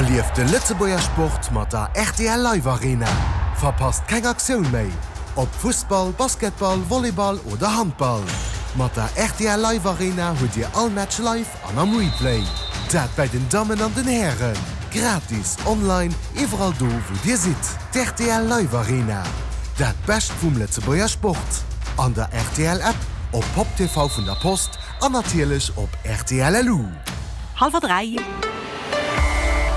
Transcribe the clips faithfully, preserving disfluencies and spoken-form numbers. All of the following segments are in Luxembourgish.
Erlieft de Lëtzebuerger Sport mat der rtl Live Arena. Verpasst keng Aktioun méi! Ob Fussball, Basketball, Volleyball oder Handball. Mat der rtl Live Arena hutt Dir all Match live an am Replay. Dat bei den Dammen an den Hären. Gratis, online, iwwerall do wou Dir sidd. D'rtl Live Arena. Dat Bescht vum Lëtzebuerger Sport. An der rtl App, op Pop TV vun der Post an natierlech op rtl LU. Hallwer dräi.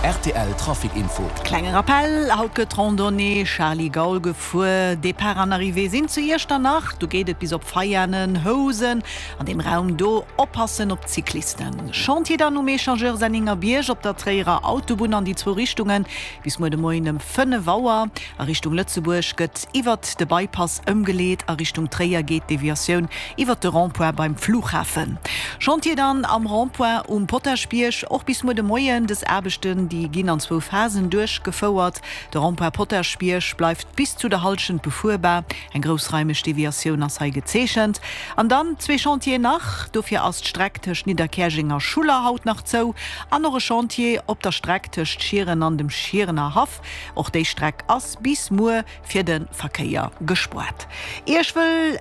Rtl Trafic Info. Klenge Rappell, Haut gëtt d'Randonnée Charly Gaul gefuer. Depart an Arrivée sinn zu Iechternach. Do geet et bis op Veianen, Housen. An deem Raum do oppassen op d'Cyclisten. Chantier dann um Echangeur Senningerbierg op der Tréierer Autobunn an déi zwou Richtungen bis muer de Moien ëm fënnef Auer. A Richtung Lëtzebuerg gëtt iwwert de Bypass ëmgeleet, a Richtung Tréier geet d'Deviatioun iwwert de Rond-point beim Flughafen. Chantier dann am Rond-point um Potaschbierg och bis muer de Moien. Dës Aarbechten, déi ginn an zwou Phasen duerchgefouert. De Rond-point Potaschbierg bleift bis zu der Hallschent befuerbar. Eng groussraimeg Deviatioun ass hei gezeechent. An dann zwee Chantieren nach, Dofir ass d'Streck tëscht Nidderkäerjeng a Schuller haut nach zou. An och e Chantier op der Streck tëscht Schieren an dem Schierener Haff. Och déi Streck ass bis muer fir de Verkéier gespoart. Iech wëll,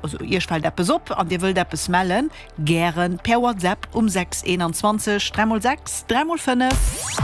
also Iech fält eppes op an Dir wëllt eppes mellen? Gären per WhatsApp um sechs eenanzwanzeg dräi mol sechs dräi mol fënnef.